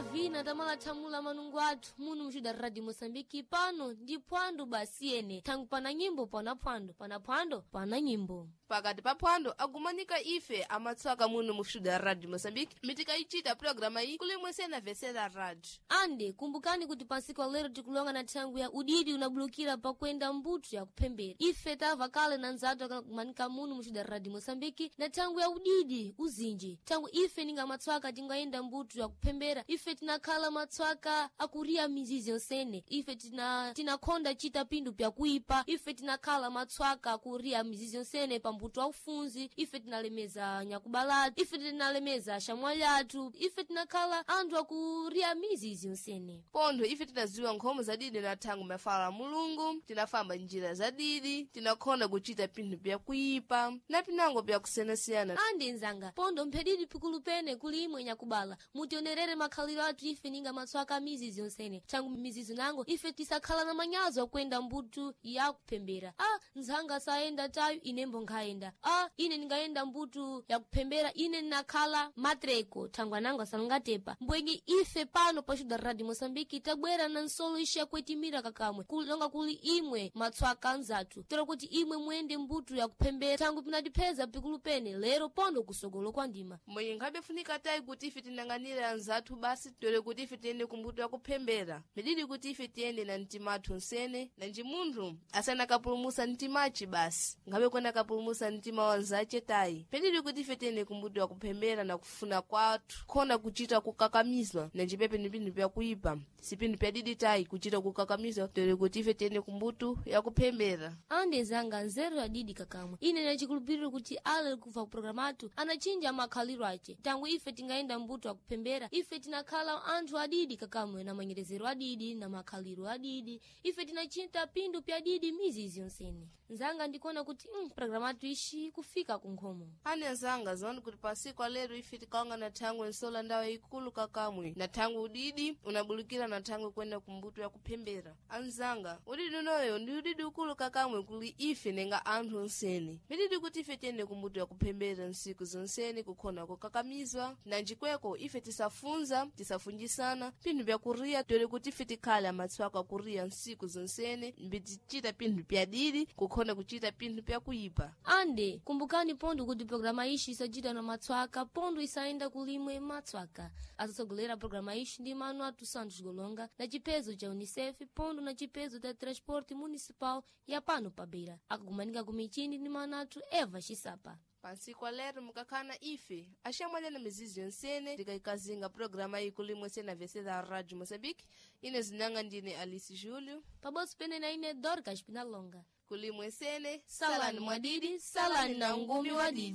Tamala vina tamala thamula manungu athu munu muxuda Radio Moçambique pano ndi phwando basi ene thangu pana nyimbo pana phwando, pana phwando pana nyimbo. Pakati pa phwando agumanika ife amatswaka muno muxuda Radio Moçambique, mitikaichita programa iyi kulimwe sena vesera radio. Ande kumbukani kuti pansiku lero tikulonga na thangu ya udidi unabulukira pakwenda mbuto ya kuphembera. Ife tava kale na nzatu akakumanika munu muxuda Radio Moçambique na thangu ya udidi uzinji. Thangu ife ninga matswaka tingayenda mbuto ya kuphembera, ife tinakhala matswaka akuria mizizi yonsene, ife tinakhonda chita pindu pyakuipa, ife tinakhala matswaka akuria mizizi yonsene pa mbuto wa ufunzi, ife tinalemeza nyakubalatu, ife tinalemeza xamwali athu, ife tinakhala anthu akuria mizizi yonsene. Pontho ife tinaziwa nkhomo za didi na thangu mafala a Mulungu, tinafamba njira za didi, tinakhonda kuchita pinthu pyakuipa na pinango pyakusiyanasiyana. Andi nzanga, pondo mphedidi pikulu pene kuli imwe nyakubala, mutionerere makhaliro athu ife ninga matswaka mizizi yonsene. Thangu mizizi nango ife tisakhala na manyazo akwenda mbuto ya kuphembera. A nzanga sayenda tayo, inembo nkhayenda. A ine ndingayenda mbuto ya kuphembera, ine ndinakhala matreko, thangwa nango asalungatepa. Mbwenye ife pano pa Xuda Radio Moçambique tabwera na nsolo ixe yakuetimira kakamwe, kulonga kuli imwe matswaka anzathu, tero kuti imwe muyende mbuto ya kuphembera, thangu pinatipheza pikulu pene lero pondo kusogolo kwa ndima. Mwenye nkhabe funika tayi kuti ife tinang'anire anzathu basi, tole kuti ife tiyende kumbuto yakuphembera, mididi kuti ife tiyende na mtima athu nsene, nanji munthu asana kapulumusa mtimaci basi, nkhabe kwena kapulumusa mtima wa nzace tayi. Pedidi kuti ife tiyende kumbuto yakuphembera na kufuna kwathu, khona kuchita kukakamizwa, nanji pepe ni pinthu pyakuipa, si pinthu pyadidi tayi kuchita kukakamizwa, tole kuti ife tiyende kumbuto yakuphembera. Ande zanga nzeru yadidi kakamwe, ine nachikulupiriro kuti ale kuva kuprograma athu anachinja makhaliro ace. Tangu ife tingayenda mbuto akuphembera, ife tinakhala anthu adidi kakamwe, na manyerezero adidi na makhaliro adidi, ife tinachita pindu pyadidi mizizi yonsene. Nzanga ndikuona kuti programa athu ixi kufika kunkhomo. Ane nzanga, ziwani kuti pasiku alero ife tikawanga na thangwe nsola ndawo ikulu kakamwe, na thangwe udidi unabulukira na thangwe kwenda kumbuto yakuphembera. Anzanga, udidi unoyo ndi udidi ukulu kakamwe kuli ife nenga anthu onsene. Mididi kuti ife tiyende kumbuto yakuphembera nsiku zonsene, kukhona kukakamizwa nanjikweko ife tisafunza tisafunjisana pinthu pyakuriya, tole kuti ife tikhale amatswaka akuriya nsiku zonsene, mbitichita pinthu pyadidi kukhona kuchita pinthu pyakuipa. Ande kumbukani pondo kuti programa ixi isachita na matswaka, pondo isayenda kulimwe matswaka. Asatsogolera programa ixi ndi mano atu Santos Golonga na chipezo cha UNICEF, pondo na chipezo cha Transporte Municipal ya pano pa Beira. Akagumanika ku michini ndi mano athu Eva Xisapa. Pansiku alero mukakhana ife axamwalya na mizizi yonsene, tikaikazinga programa iyi kulimwe sena vesera Radio Moçambique. Ine zinanga ndine Alice Júlio, pabodzi pene na ine Dorcas Pinalonga. Kulimwe sene Salani mwadidi, salani na ngumi wadidi.